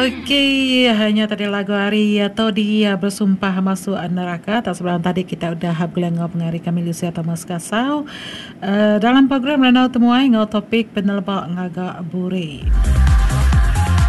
Okey, nya tadi lagu ari Todi Bersumpah Masuk Neraka. Tak sebelum tadi kita udah begulai enggau pengari kami Lucia Thomas Kasau dalam program Randau Temuai enggau topik peneleba ngaga buri.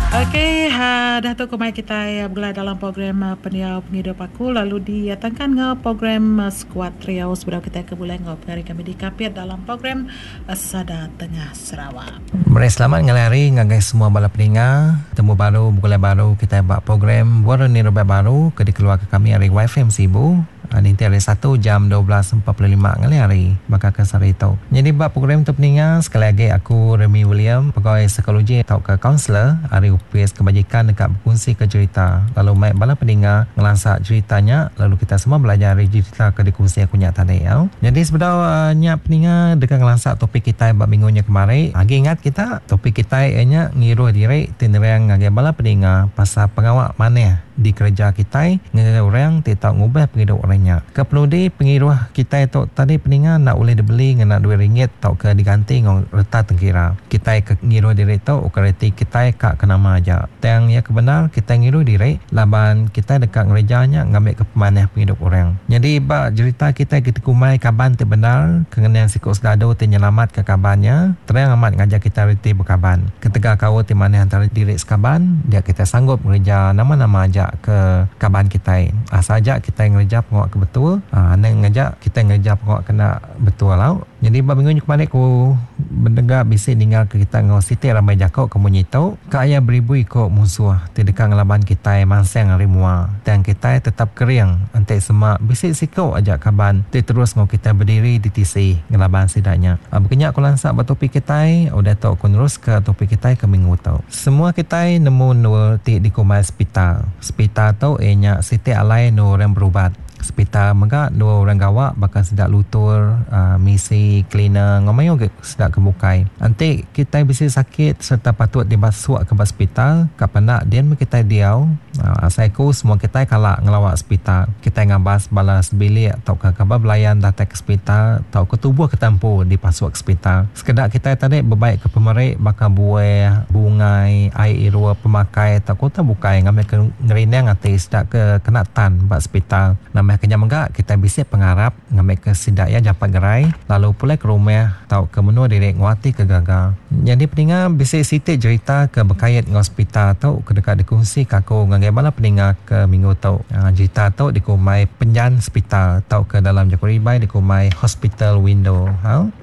Okey, dah tu ku mai kitai begulai dalam program Pendiau Pengidup Aku lalu ditangkan enggau program Skuad Trio sebedau kitai ke begulai enggau pengari kami di Kapit dalam program Sada Tengah Sarawak. Meri selamat ngalih hari ngagai semua bala peninga. Temu baru begulai baru kitai ba program Buan Reni Rebak Baru ke dikeluarka kami ari YFM Sibu ninting hari Satu jam 12.45 ngalih hari baka ke sehari tu. Nyadi ba program tu peninga sekali agi aku Remy William pegawai psikologi tauka kaunselor ari Opis Kebajikan deka bekunsika jerita lalu mai bala peninga ngelansa jerita nya lalu kita semua belajar ari jerita ke dikunsi aku nya tadi. Nyadi sebedau nya peninga deka ngelansa topik kitai ba minggu nya kemari, agi ingat kita topik kitai iya nya ngiruh diri ti nerang ngagai bala peninga pasal pengawa manah dikereja kitai ngagai orang ti tau ngubah pengidup orang nya. Ke penudi pengiruh kitai tu tadi peninga enda ulih dibeli ngena duit ringgit tauka diganti enggau reta tengkira. Kitai ke ngiruh diri tu ukai reti kitai ka ke nama aja. Tang iya ke bendar kitai ngiruh diri laban kitai deka ngereja nya ngambika pemanah pengidup orang. Nyadi ba jerita kitai ke dikumbai kaban ti bendar ke ngenang siku sedadu ti nyelamatka kaban iya, terang amat ngajar kitai reti bekaban. Ketegal kaul ti manah entara diri sekaban, dia kitai sanggup ngereja nama-nama aja ke kaban kitai. Asal aja kitai ngereja pengawa ke betul, anang ngaja kitai ngereja pengawa ke enda betul au. Nyadi ba minggu nya kemari ku bedega bisi ninga ke kita enggau siti rambai jako ke munyi tu, Ka iya beribu iko munsuh ti deka ngelaban kitai mansang ari mua, tang kitai tetap kering enti sema bisi siko aja kaban ti terus enggau kitai bediri di tisi ngelaban sida nya. Baka nya ku lansa ba topik kitai, udah tu ku neruska topik kitai ke minggu tu. Semua kitai nemu endur ti dikumbai sepital. Sepital tu iya nya siti alai endur orang berubat. Sepital mega dua orang gawa baka sida lutur, misi, cleaner enggau mayuh agi sida ke bukai. Enti kitai bisi sakit sereta patut dibasukka ba sepital, ka penda din meh kitai diau. Asai ku semua kitai kala ngelawa sepital. Kitai ngabas bala sebilik tauka kaban belayan datai ke sepital tauka tubuh kitai empu dipasuk ke sepital. Sekeda kitai tadi bebaika pemeri baka buah, bungai, ai irup, pemakai tauka utai bukai ngambika ngerindang ati sida ke kena tan ba sepital. Nambahka nya mega, kitai bisi pengarap ngambika sida iya jampat gerai lalu pulai ke rumah tauka menua diri enggau ati ke gaga. Nyadi peninga bisi siti jerita ke bekait enggau sepital tu ke deka dikunsika aku ngagai bala peninga ke minggu tu. Jerita tu dikumbai Penjan Sepital tauka dalam jaku ribai dikumbai Hospital Window.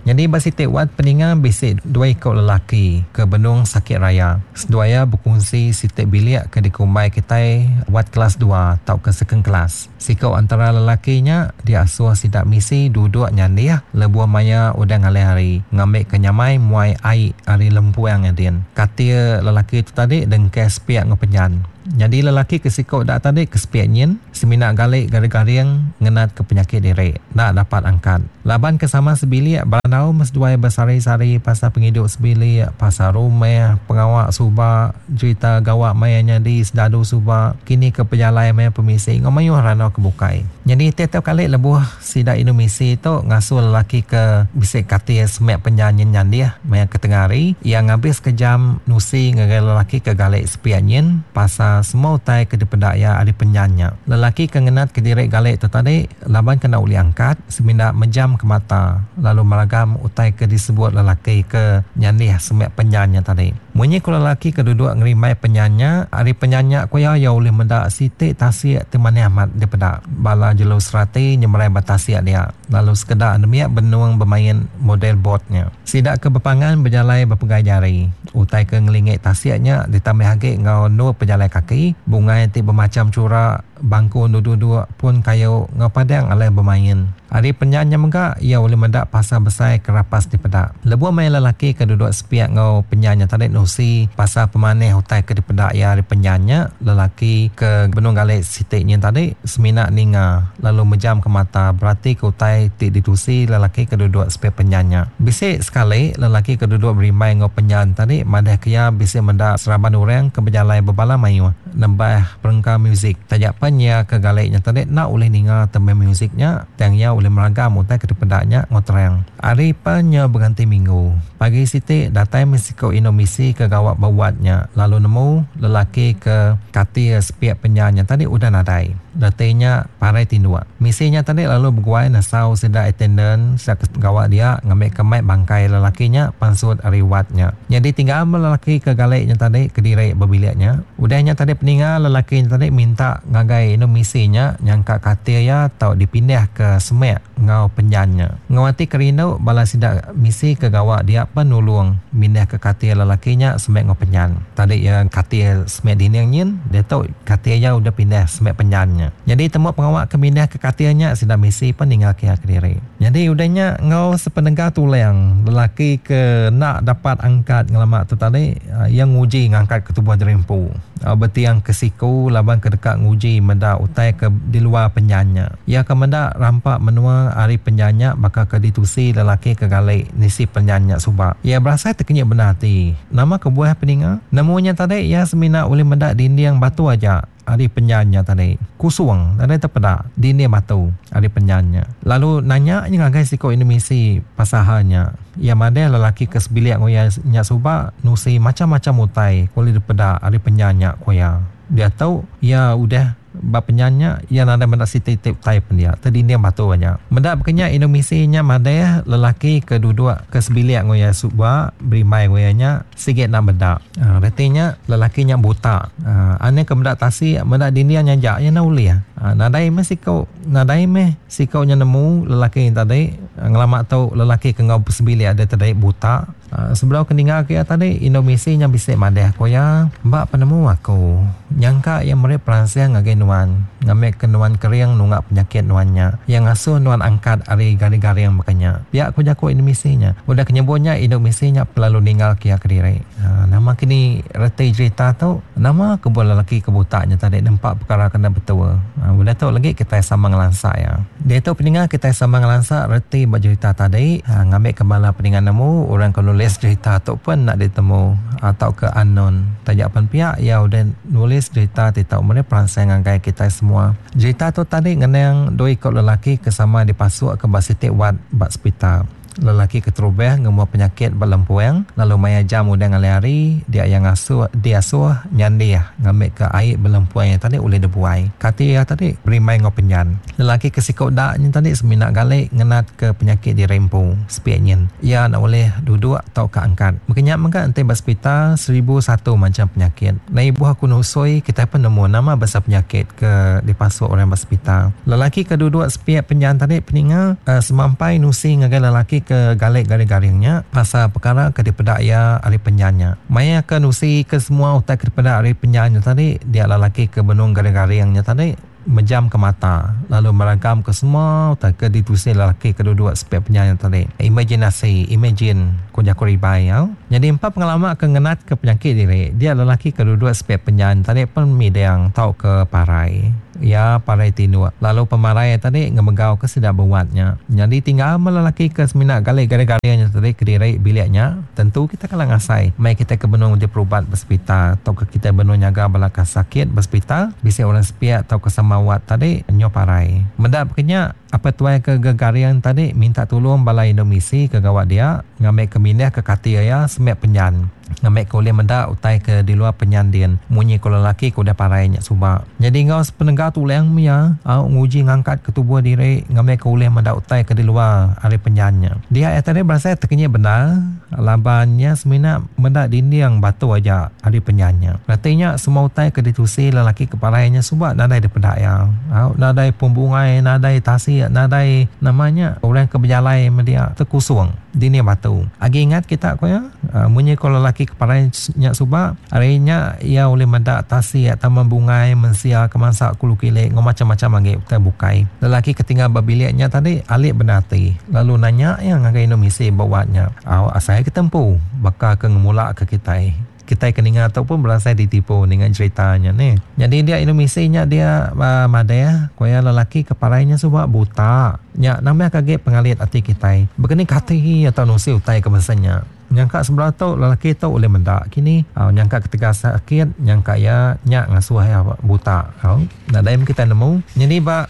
Nyadi ba siti wad peninga bisi dua iku lelaki ke benung sakit raya. Seduai iya bekunsi siti bilik ke dikumbai kitai wad kelas dua tauka second class. Siku antara lelaki nya diasuh sida misi duduk nyandih lebuh maya udah ngalih hari ngambika nyamai muai ai ari lempuang iya din. Katil lelaki tu tadi dengkeh sepiak enggau penjan. Nyadi lelaki ke siku da tadi ke sepiak nyin semina gali garing-garing ngenatka penyakit diri enda dapat angkat. Laban ke sama sebilik berandau meh seduai besari-sari pasal pengidup sebilik, pasal rumah, pengawa suba, jerita gawa maya nyadi sedadu suba, kini ke pejalai maya pemisi enggau mayuh randau ke bukai. Nyadi tiap-tiap kali lebuh sida indu misi tu ngasuh lelaki ke bisi katil semak penjan nyin nyandih maya ke tengah hari, iya ngabiska jam nusi ngagai lelaki ke gali sepiak nyin pasal semua utai ke dipeda iya ari penjan nya. Lelaki ke ngenatka diri gali tu tadi Laban ke enda ulih angkat, semina mejam ke mata lalu meragam utai ke disebut lelaki ke nyandih semak penyan nya tadi. Munyi ku lelaki ke duduk ngerimbai penyan nya, ari penyan nya ku iya, iya ulih meda siti tasik ti manah amat dipeda. Bala jelu serati nyemerai ba tasik dia, lalu sekeda nembiak benung bemain model bot nya. Sida ke bepangan bejalai bepegai jari. Utai ke ngelingi tasik nya ditambah agi enggau endur pejalai kaki, bungai ti bemacham chura, Bangku endur duduk, pun kayu enggau padang alai bemain. Ari penjan nya mega, iya ulih meda pasar besai ke rapas dipeda. Lebuh maya lelaki ke duduk sepiak enggau penjan nya tadi nusi pasal pemanah utai ke dipeda iya ari penjan nya, lelaki ke benung gali siti nyin tadi semina ninga lalu mejamka mata beratika utai ti ditusi lelaki ke duduk sepiak penjan nya. Bisi sekali, lelaki ke duduk berimbai enggau penjan tadi madahka iya bisi meda seraban orang ke bejalai bebala mayuh. Nembah perengka muzik. Taja pen iya ke gali nya tadi enda ulih ninga tembih muzik nya, tang iya ulih. ulih meragam utai ke dipeda nya enggau terang. Hari pan nyau beganti minggu. Pagi siti datai meh siku indu misi ke gawa ba wad nya lalu nemu lelaki ke katil sepiak penjan nya tadi udah nadai. Reti nya parai tinduk. Misi nya tadi lalu beguai nesau sida attendant sida ke gawa dia ngambika mai bangkai lelaki nya pansut ari wad nya. Nyadi tinggal meh lelaki ke gali nya tadi kediri ba bilik nya. Udah nya tadi peninga lelaki nya tadi minta ngagai indu misi nya nyangka katil iya tau dipindah ke semek enggau penjan nya. Enggau ati ke rindu bala sida misi ke gawa dia pen nulung mindah ke katil lelaki nya semek enggau penjan. Tadi iya katil semek dinding nyin diatu katil iya udah pindah semek penjan nya. Nyadi tembu pengawa ke mindah ke katil nya sida misi pen ninggal ke iya kediri. Nyadi udah nya enggau sepenega tulang lelaki ke enda dapat angkat ngelama tu tadi iya nguji ngangkat ke tubuh diri empu betiang ke siku laban ke deka nguji meda utai ke di luar penjan nya. Iya ke meda rampa menua ari penjan nya baka ke ditusi lelaki ke gali nisi penjan nya suba. Iya berasai tekenyit bendar ati. Nama kebuah peninga? Nemu nya tadi iya semina ulih meda dinding batu aja. Ari penyan nya tadi. Kusung nadai tepeda dinding batu ari penyan nya. Lalu nanya nya ngagai siku indu misi pasal hal nya. Iya madah lelaki ke sebilik enggau iya nya suba nusi macham-macham utai ke ulih dipeda ari penyan nya ku iya. Diatu iya udah ba penyan nya iya nadai meda siti-iti utai pen dia tedinding batu aja. Meda baka nya indu misi nya madah lelaki ke duduk ke sebilik enggau iya suba berimbai enggau iya nya Sigi enda meda. Reti nya lelaki nya buta. Anih ke meda tasik, meda dinding nya aja iya enda ulih. Nadai meh siku, nadai meh siku nya nemu lelaki nya tadi ngelama tu lelaki ke enggau sebilik deh tadi buta. Sebedau ke ninggal ke iya tadi indu misi nya bisi madah ku iya, Ba penemu aku, nyangka iya meri peransang ngagai nuan ngambika nuan kering nunga penyakit nuan nya. Iya ngasuh nuan angkat ari garing-garing baka nya. Pia ku jaku indu misi nya. Udah ke nyebut nya indu misi nya pelalu ninggal ke iya kediri. Nama kini reti jerita tu? Nama kebuah lelaki ke buta nya tadi nempa pekara ke enda betul? Udah tu lagi kitai sama ngelansa iya. Diatu peninga kitai sama ngelansa reti ba jerita tadi ngambika bala peninga nemu orang ke nulis jerita tu pun enda ditemu tauka unknown. Taja pan pia iya udah nulis jerita ti tau meri peransang ngagai kitai semua. Jerita tu tadi ngenang dua iku lelaki ke sama dipasukka ba siti wad ba sepital. Lelaki keterubah ngembuah penyakit ba lempuang lalu maya jam udah ngalih hari dia iya ngasuh diasuh nyandih ngambika ai ba lempuang iya tadi ulih dibuai. Kati iya tadi berimbai enggau penyan. Lelaki ke siku da nyin tadi semina gali ngenatka penyakit diri empu sepiak nyin. Iya enda ulih duduk tauka angkat. Baka nya mega enti ba sepital 1001 macham penyakit. Enda ibuh aku nusui kitai pun nemu nama bansa penyakit ke dipasuk orang ba sepital. Lelaki ke duduk sepiak penjan tadi peninga semampai nusi ngagai lelaki ke gali garing-garing nya pasal pekara ke dipeda iya ari penjan nya. Maya ke nusi ke semua utai ke dipeda ari penjan nya tadi dia lelaki ke benung garing-garing nya tadi mejam ke mata lalu meragam ke semua utai ke ditusi lelaki ke duduk sepiak penyan nya tadi. Imaginasi, imagine, ku jaku ribai au. Nyadi empa pengelama ke ngenat ke penyakit diri, dia lelaki ke duduk sepiak penyan tadi pen midang tauka parai. Iya parai tinduk lalu pemarai iya tadi ngemegau ke sida bewat nya. Nyadi tinggal meh lelaki ke semina gali garing-garing nya tadi kediri bilik nya. Tentu kita kala ngasai meh kitai ke benung diperubat ba sepital tauka kitai benung nyaga bala ke sakit ba sepital, bisi orang sepiak tauka sama wat tadi nyau parai. Meda baka nya, apai tuai ke gegaring tadi minta tulung bala indu misi ke gawa dia ngambika mindahka katil iya semek penjan. Ngambika ulih meda utai ke di luar penyan din munyi ku lelaki ke udah parai nya suba. Nyadi enggau sepenega tulang mia au nguji ngangkatka tubuh diri ngambika ulih meda utai ke di luar ari penyan nya. Dia iya tadi berasai tekenyit bendar laban iya semina meda dinding batu aja ari penyan nya. Reti nya semua utai ke ditusi lelaki ke parai nya suba nadai dipeda iya. Au nadai pun bungai, nadai tasik, nadai nama nya orang ke bejalai media tekusung dinding batu. Agi ingat kita ku iya? Munyi ko lelaki ke parai nya suba, ari nya iya ulih meda tasik, taman bungai, mensia ke mansa kulu kili enggau macham-macham agi utai bukai. Lelaki ke tinggal ba bilik nya tadi alik bendar ati lalu nanya iya ngagai indu misi ba wad nya, Au asai ke tempu baka ke ngemula ke kitai. Kitai ke ninga tu pun berasai ditipu ninga cherita nya nih. Nyadi dia indu misi nya dia madah ku iya lelaki ke parai nya suba buta. Nya nambahka agi pengalit ati kitai. Baka ni kati iya tau nusi utai ke bansa nya. Nyangka sebedau tu lelaki tu ulih meda kini. Au nyangka ketegal sakit nyangka iya nya ngasuh iya buta. Au nadai meh kitai nemu. Nyadi ba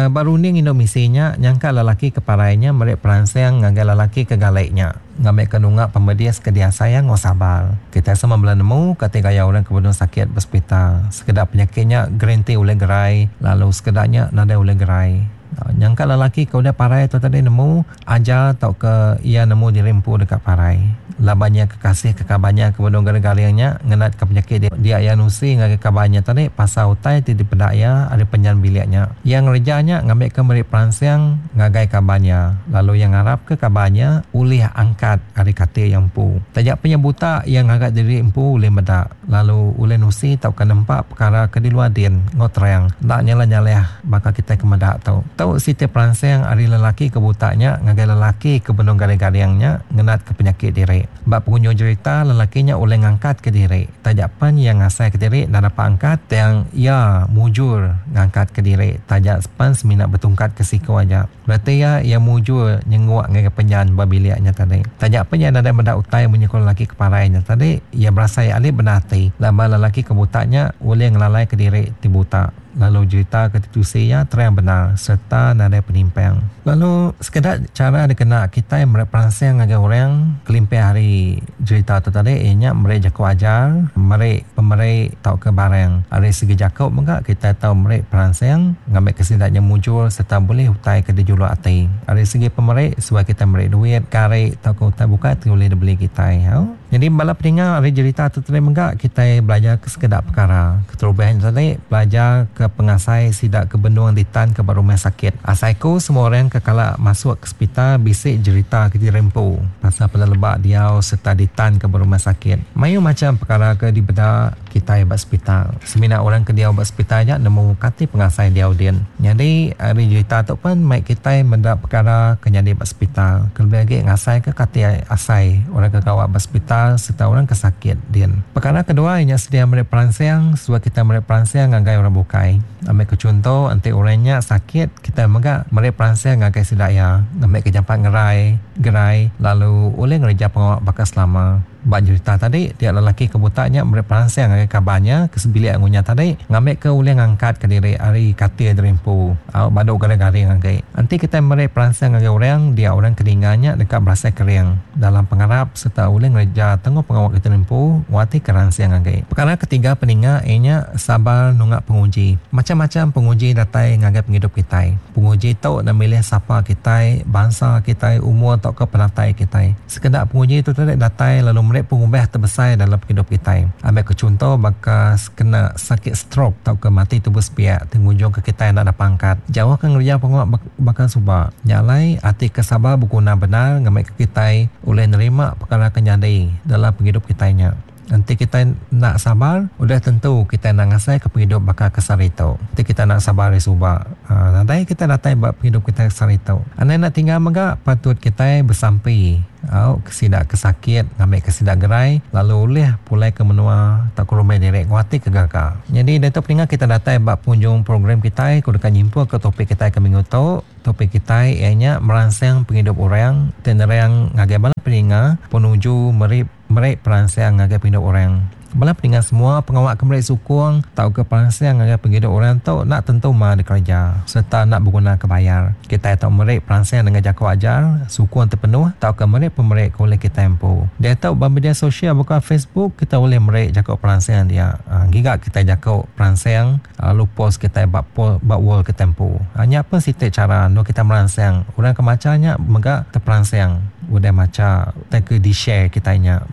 ba runding indu misi nya nyangka lelaki ke parai nya meri peransang ngagai lelaki ke gali nya ngambika nunga pemedis ke diasai iya enggau sabar. Kitai sama bela nemu kati gaya orang ke benung sakit ba sepital. Sekeda penyakit nya gerenti ulih gerai lalu sekeda nya nadai ulih gerai. Nyangka lelaki ke udah parai tu tadi nemu Ajar tauka iya nemu diri empu deka parai. Laban iya ke kasih ke kaban iya ke benung garing-garing nya ngenatka penyakit dia, dia iya nusi ngagai kaban iya tadi pasal utai ti dipeda iya ari penyan bilik nya. Iya ngereja nya ngambika meri peransang ngagai kaban iya, lalu iya ngarapka kaban iya ulih angkat ari katil iya empu. Taja pen iya buta, iya ngaga diri empu ulih meda, lalu ulih nusi tauka nempa pekara ke di luar din enggau terang enda nyalah-nyalah baka kitai ke meda tu. Tu siti peransang ari lelaki ke buta nya ngagai lelaki ke benung garing-garing nya ngenatka penyakit diri. Ba pengunjung jerita, lelaki nya ulih ngangkatka diri. Taja pen iya ngasaika diri enda dapat angkat, tang iya mujur ngangkatka diri taja pen semina betungkatka siku aja. Reti iya, iya mujur nyenguk ngagai penyan ba bilik nya tadi. Taja pen iya nadai meda utai munyi ku lelaki ke parai nya tadi, iya berasai alit bendar ati laban lelaki ke buta nya ulih ngelalaika diri ti buta lalu jerita ke ditusi iya terang bendar sereta nadai penimpang. Lalu sekeda chara dikena kitai meri peransang ngagai orang kelimpah ari jerita tu tadi iya nya meri jaku ajar, meri pemeri tauka barang. Ari segi jaku mega kitai tau meri peransang ngambika sida nya mujur sereta bulih utai ke dijuluk ati. Ari segi pemeri suah kitai meri duit, gari tauka utai bukai ti ulih dibeli kitai. Au. Nyadi bala peninga ari jerita tu tadi mega kitai belajar ke sekeda pekara. Keterubah nya tadi belajar ke pengasai sida ke benung ditanka ba rumah sakit. Asai ku semua orang ke kala masuk ke sepital bisi jerita ke diri empu pasal peneleba diau sereta ditanka ba rumah sakit. Mayuh macham pekara ke dipeda kitai ba sepital. Semina orang ke diau ba sepital aja nemu kati pengasai diau din. Nyadi ari jerita tu pen mai kitai meda pekara ke nyadi ba sepital kelebih agi ngasaika kati asai orang ke gawa ba sepital sereta orang ke sakit din. Pekara kedua iya nya sedia meri peransang suah kitai meri peransang ngagai orang bukai. Ambika chunto enti orang nya sakit kitai mega meri peransang ngagai sida iya ngambika jampat ngerai gerai lalu ulih ngereja pengawa baka selama. Ba jerita tadi, dia lelaki ke buta nya meri peransang ngagai kaban iya ke sebilik ngunya tadi ngambika ulih ngangkatka diri ari katil diri empu. Au badu garing-garing agi. Enti kitai meri peransang ngagai orang, dia orang ke ninga nya deka berasai kering dalam pengarap sereta ulih ngereja tenguk pengawa kitai empu ngatika ransing agi. Pekara ketiga peninga iya nya sabar nunga penguji. Macham-macham penguji datai ngagai pengidup kitai. Penguji tu enda milih sapa kitai, bansa kitai, umur tauka penatai kitai. Sekeda penguji tu tadi datai lalu meri pengubah ti besai dalam pengidup kitai. Ambika chunto baka kena sakit strok tauka mati tubuh sepiak ti ngujungka kitai enda dapat angkat jauh ke ngereja pengawa baka suba. Nya alai, ati ke sabar beguna bendar ngambika kitai ulih nerima pekara ke nyadi dalam pengidup kitai nya. Enti kitai enda sabar, udah tentu kitai enda ngasaika pengidup baka ke sehari tu. Enti kitai enda sabar ari suba, nadai kitai datai ba pengidup kitai ke sehari tu. Anang enda tinggal mega patut kitai besampi au ke sida ke sakit ngambika sida gerai lalu ulih pulai ke menua tauka rumah diri enggau ati ke gaga. Nyadi diatu peninga kitai datai ba pengunjung program kitai ku deka nyimpulka topik kitai ke minggu tu. Topik kitai iya nya meransang pengidup orang ti nerang ngagai bala peninga penuju meri Meri peransang ngagai pengidup orang. Bala peninga semua pengawa ke meri sukung tauka peransang ngagai pengidup orang tu enda tentu ma dikereja sereta enda begunaka bayar. Kitai tau meri peransang nengah jaku ajar, sukung ti penuh tauka meri pemeri ke ulih kitai empu. Diatu ba media sosial baka Facebook kitai ulih meri jaku peransang dia. Giga kitai jaku peransang lalu post kitai ba ba wall kitai empu. Nya pun siti chara endur kitai meransang orang ke macha nya mega teperansang udah macha. Utai ke di-share kitai nya.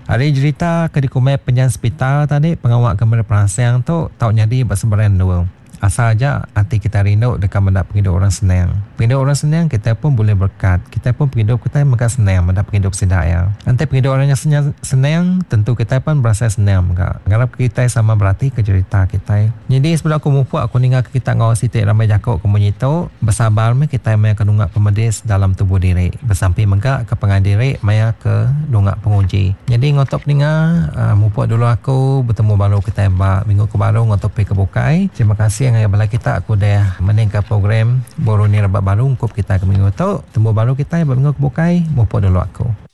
Ari jerita ke dikumbai Penjan Sepital tadi, pengawa ke meri peransang tu tau nyadi ba sebarang endur. Asal aja ati kitai rindu deka meda pengidup orang senang. Pengidup orang senang kitai pun bulih berekat. Kitai pun pengidup kitai mega senang meda pengidup sida iya. Enti pengidup orang nya senang, tentu kitai pun berasai senang mega. Ngarapka kitai sama beratika jerita kitai. Nyadi sebedau aku mupuk aku ninggalka kita enggau siti rambai jaku ke munyi tu, Besabar meh kitai maya ke nunga pemedis dalam tubuh diri. Besampi mega ke pangan diri maya ke nunga penguji. Nyadi enggau tu peninga, mupuk dulu aku betemu baru kitai ba minggu ke baru enggau topik ke bukai. Terima kasih ngagai bala kita ke udah mendingka program Boroni Rebak Baru ungkup kitai ke minggu tu. Temu baru kitai ba minggu ke bukai. Mupuk dulu aku.